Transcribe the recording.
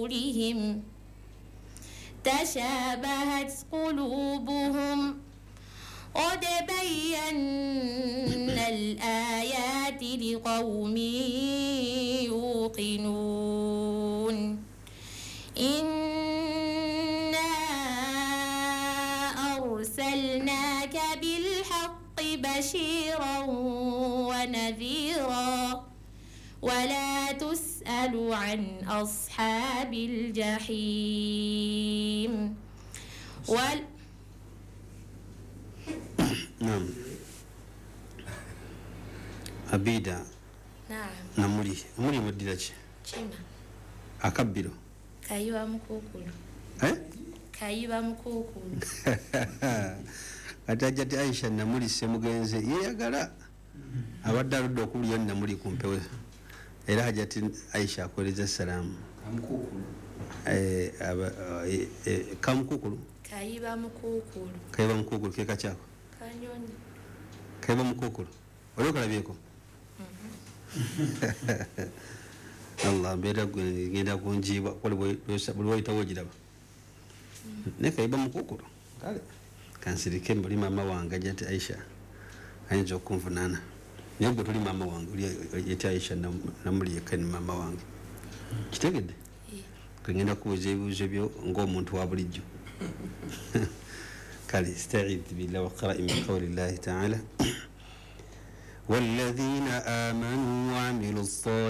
رسولهم تشابهت قلوبهم قد بينا الآيات لقوم يوقنون. إنا أرسلناك بالحق بشيرا ونذيرا ولا تسأل عن أصحاب الجحيم. نعم. Abida. Naam. Namuli. Namuli muddira ki? Kima. Akabbiro. Kayiba mukuukulu. Eh? Kayiba mukuukulu. Ate Hajjati Aisha Namuli Ssemugenze yeeyagala abadde aludde okuwulira Namuli ku mpewo, era Hajjati Aisha akuweereza salaamu. Kamukuukulu. Kayiba mukuukulu. Kayiba mukuukulu ke kakyako? Kanyonyi. Kayiba mukuukulu. Oli okalabyeko? Allah mbeera gwe ngenda kunjiibwa buli wayitawo ogiraba. Naye kayiba mukuukulu. Kale kansirike mbuli maama wange Hajjati Aisha ayinza okunvunaana. Naye gwe toli maama wange, oli Hajjati Aisha Namuli yekka ni maama wange. Kitegedde? Ngenda kubuuza ebibuuzo byo ng'omuntu wa bulijjo. Kale istaidh billah waqra'i min qawli llahi taala. والذين آمنوا وعملوا الصالحات.